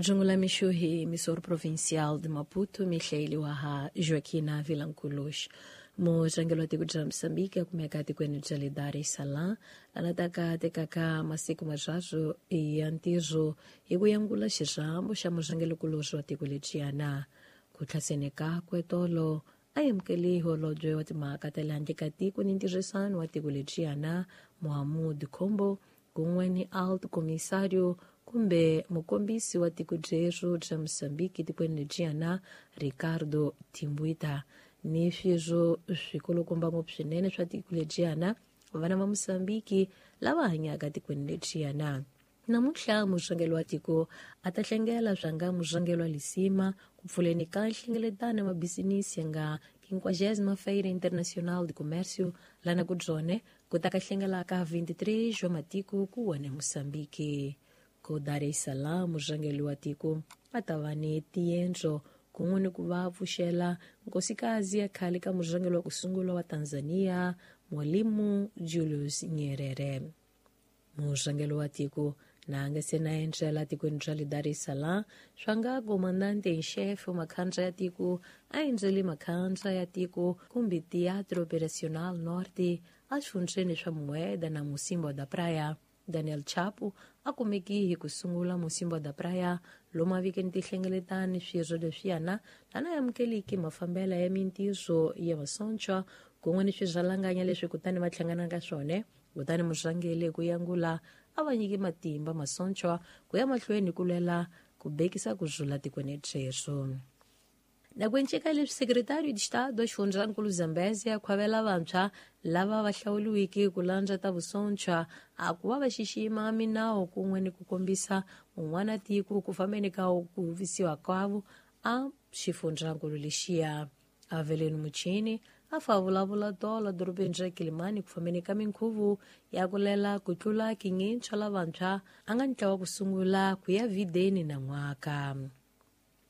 Majungula mixo hi emissor provincial de Maputo, Michele Waha Joaquina Vilanculos. Murhangeri wa tiko bya Mozambique a kumeka etikweni bya le Dar es Salaam lana taka tekaka masiku marharhu ya ntirho hi ku yangula xirhambo xa murhangerikulorhi wa tiko lediyana. Ku tlhaseni kakwe tolo a amukele holobye wa timhaka ta le handle ka tiko ni ntirhisano wa tiko lediyana Mohamud Khombo kun'we ni alto comissário kumbe mukombisi wa tiko rero bya Mozambique etikweni lediyana Ricardo Timbuita ni swirho swikulukumba ngopfu swinene swa tiko lediyana vana va Mozambique lava hanyaka tikweni lediyana. Namuntlha murhangeri wa tiko a ta hlengela swanga murhangeri wa Lisima ku pfuleni ka nhlengeletano ya mabisinisi ya nga 50ª Feira Internacional de Comércio lana ku byone ku ta ka hlengelaka 23 wa matiko ku wona Mozambique. Ku Dar es Salaam murhangeri wa tiko a ta va ni tiendlo kun'we ni ku va pfuxela nkosikazi ya khale ka murhangeri wa ku sungula wa Tanzania Mwalimu Julius Nyerere. Murhangeri wa tiko na nga se na endzela tikweni ra le Dar es Salaam swa nga comandante en chefe makhandla ya tiko a endzele makhandla ya tiko kumbe Teatro Operacional Norte exifundzheni swa Mueda na Mocimboa da Praia. Daniel Chapo a kumeki hi ku sungula Mocimboa da Praia lomu a vikeni tihlengeletani swirho leswiyana lana amukeliki mafambela ya mintirho ya masocha kun'we ni swirhalanganya leswi kutani va hlangana ka swona. Kutani murhangeri ku yangula a va nyiki matimba masocha ku ya mahlweni ku lwela ku bekisa ku rhula tikweni rero. Na ku enceka leswi Secretário de Estado wa xifundzankulu Zambezia a khwavela vantshwa lava va hlawuriweke ku landza ta vusocha a ku va va xixima minawu kun'we ni ku kombisa un'wana tiko ku fambeni ka ku visiwa kwavo a xifundzankulu lexiya. Aveleni Muchini a fa vulavula tolo dorobeni ra Kilimani ku fambeni ka minkhuvo ya ku lela ku tlula 500 lavantshwa a nga ntlawa ku sungula ku ya videni na n'waka.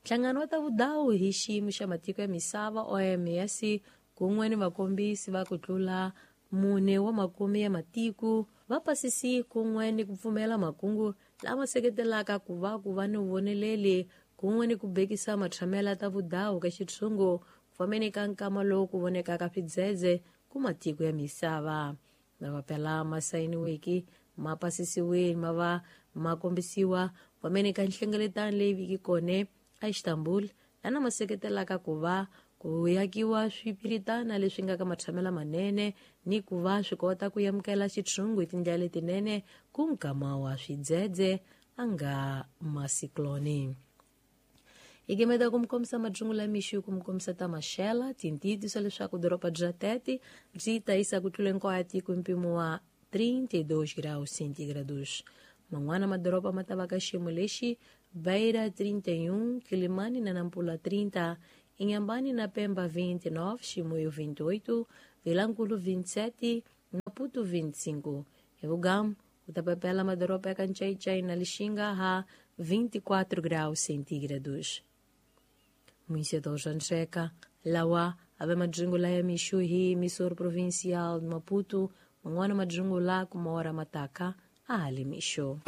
Nhlangano wa ta vudawu hi xiyimo xa matiko ya misava OMS kun'we ni vakombisi va ku tlula 4 wa makume ya matiko va pasisi kun'we ni ku pfumela makungu lama seketelaka ku va ni voneleli kun'we ni ku bekisa matshamela ta vudawu ka xitshungu ku fambeni ka nkama lowu ku vonekaka swidzedze ku matiko ya misava. Mapapila ma sayiniweke ma pasisiwile ma va ma kombisiwa ku fambeni ka nhlengeletano leyi viki kona a Istanbul lana ma seketelaka ku va ku yakiwa swipiritana leswi nga ka matshamela manene ni ku va swi kota ku amukela xitshungu hi tindlela letinene ku nkama wa swidzedze a nga masikloni. Hi gimeta ku mi kombisa majungula mixo ku mi kombisa ta maxela tintitiso leswaku doroba bya Tete byi ta yisa ku tlula hinkwayo tiko hi mpimo wa 32 graus centígrados. Man'wana madoroba ma ta va ka xiyimo lexi Beira 31, Quilimane na Nampula 30, Inhambane na Pemba 29, Chimoio 28, Vilanculo 27, Maputo 25. Hi Vugamu u ta papela madoroba ya ka Ncaicai na Lixinga ha 24 graus centígrados. Município de Ncheka, lawa ave majungula ya mixo hi emissor provincial de Maputo, man'wana majungula kuma ora mataka a hali mixo.